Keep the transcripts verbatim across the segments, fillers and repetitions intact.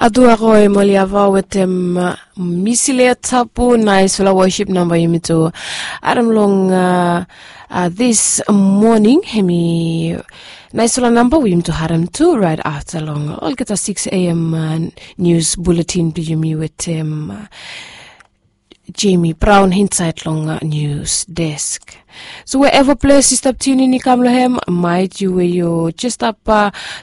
Adu aro em oli ava wetem misilia tapu, naisfala wosip namba yumi tu harem long this moning. Hemi naisfala namba we yumi tu harem tu rait afta long olgeta six a.m. Nius buletin blong yumi wetem Jemi Braon insaed long nius desk. So we eva ples yu stap tiunin i kam long hem, maet yu we yu jes stap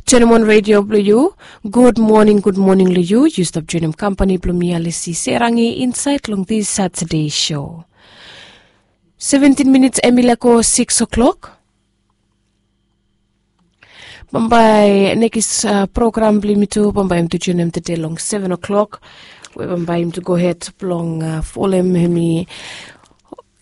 joinim on redio blong yu. Gud moning, gud moning long yu. Yu stap joinim kampani blong mi Alisi Serangi insaed long this Satade sho. Seventin minits em i laek go sikis o'klok. Bambae nekis program blong yumi tu bambae yumi tu joinim tede long seven o'klok, we bambae yumi tu gohed blong folem hemi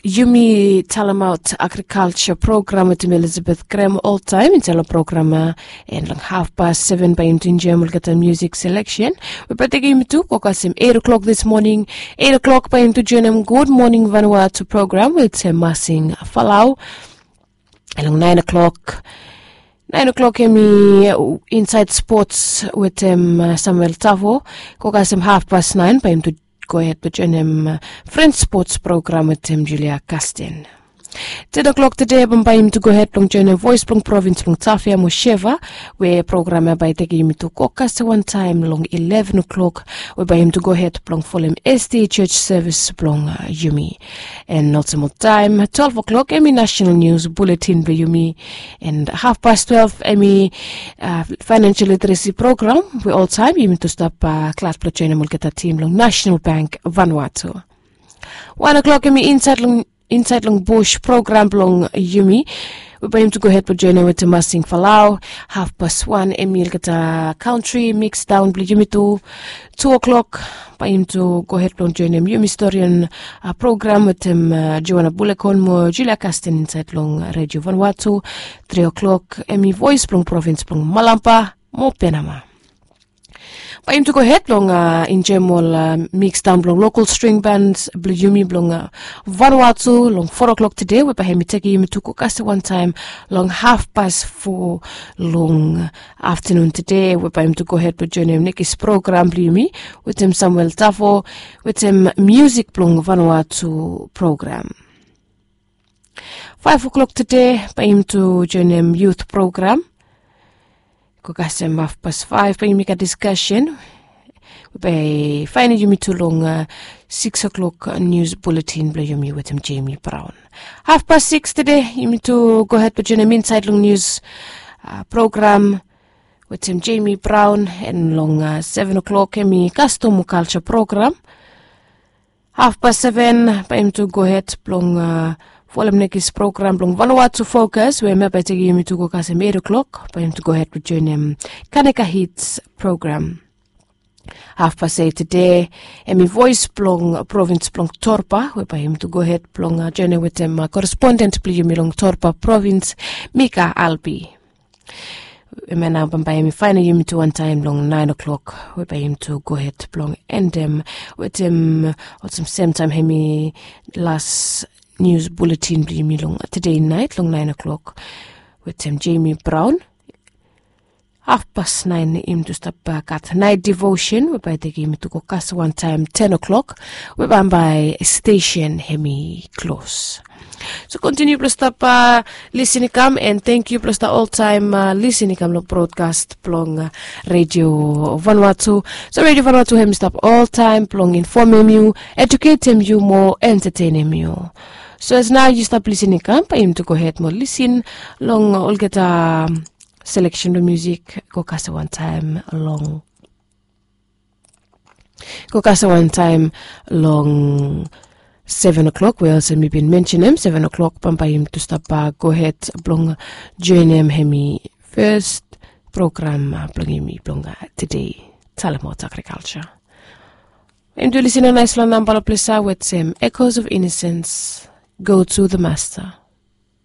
yumi talemaot agrikalsa program wetem Elizabeth Grem oltaem insaed long program ya. And long hafpas seven bae yumi tu enjoem olgeta musik seleksen, we bae tekem yumi tu go kasem eit o'klok this moning. Eit o'klok bae yumi tu joinim Gud Moning Vanuatu program wetem Masing Falau. Long naen o'klok, naen o'klok hemi insaed spots wetem Samuel Tavo. Go kasem hafpas naen bae yumi tu gohed blong joinim Fren spots program wetem Julia Kasten. Ten o'klok tede bambae yumi tu gohed blong joinim Voes blong Provins blong Tafea mo Seva, we program ya bae tekem yumi tu go kasem wantaem long ileven o'klok, we bae yumi tu gohed blong folem SDA Church sevis blong yumi. And olsem oltaem twelve o'klok hemi nasenal nius buletin blong yumi. And hafpas twelve hemi faenensel literesi program, we oltaem yumi tu stap glad blong joinim olgeta tim long Nasenal Bank Vanuatu. Wan o'klok hemi insaed long bus program blong yumi, we bae yumi tu gohed blong joinim wetem Masing Falau. Hafpas wan hemi olgeta kantri miks daon blong yumi tu. Tu o'klok bae yumi tu gohed blong joinim yumi storian program wetem Joana Bulekon mo Julia Kasten insaed long Redio Vanuatu. Tri o'klok hemi Voes blong Provins blong Malampa mo Penama. Bae yumi tu gohed blong enjoem ol miks daon blong lokal string bans blong yumi blong Vanuatu long foa o'klok tede, we bae hemi tekem yumi tu go kasem wantaem long hafpas fo long aftanun tede, we bae yumi tu gohed blong joinim nekis program blong yumi wetem Samuel Tavo wetem musik blong Vanuatu program. Faef o'klok tede bae yumi tu joinim yut program. Go kasem hafpas faef bae yumi gat diskasen, we bae faenem yumi tu long sikis o'klok nius buletin blong yumi wetem Jemi Braon. Hafpas sikis tede yumi tu gohed blong joinim insaed long nius program wetem Jemi Braon. And long seven o'klok hemi kastom mo kalsa program. Hafpas seven bae yumi tu gohed blong folem nekis program blong Vanuatu Fokas, we hemia bae tekem yumi tu go kasem eit o'klok, bae yumi tu gohed blong joinim Kaneka Hits program. Hafpas eit tede hemi Voes blong Provins blong Torba, we bae yumi tu gohed blong joinim wetem koresponden blong yumi long Torba Provins, Mika Albi. Hemia nao bambae hemi faenem yumi tu wantaem long naen o'klok, we bae yumi tu gohed blong endem wetem olsem semtaem hemi las nius buletin blong yumi long tede naet long naen o'klok wetem Jemi Braon. Hafpas naen yumi tu stap gat naet devosen, we bae tekem yumi tu go kasem wantaem ten o'klok, we bambae stesen hemi klos. So kontiniu blong stap lisin i kam, and tangkiu blong stap oltaem lisin i kam long brodkas blong Redio Vanuatu. So Redio Vanuatu hemi stap oltaem blong infomem yu, ejuketem yu mo entatenem yu. So as nao yu stap lisin i kam, bae yumi tu gohed mo lisin long olgeta seleksen blong musik. Go kasem wantaem long go kasem wantaem long seven o'klok, we olsem mi bin mensenem, seven o'klok bambae yumi tu stap gohed blong joinim hemi fes program blong yumi blong tede, Talemaot Agrikalsa. Yumi tu lisin long naesfala namba long ples ya wetem Echoes of Innocence, Go to the Master.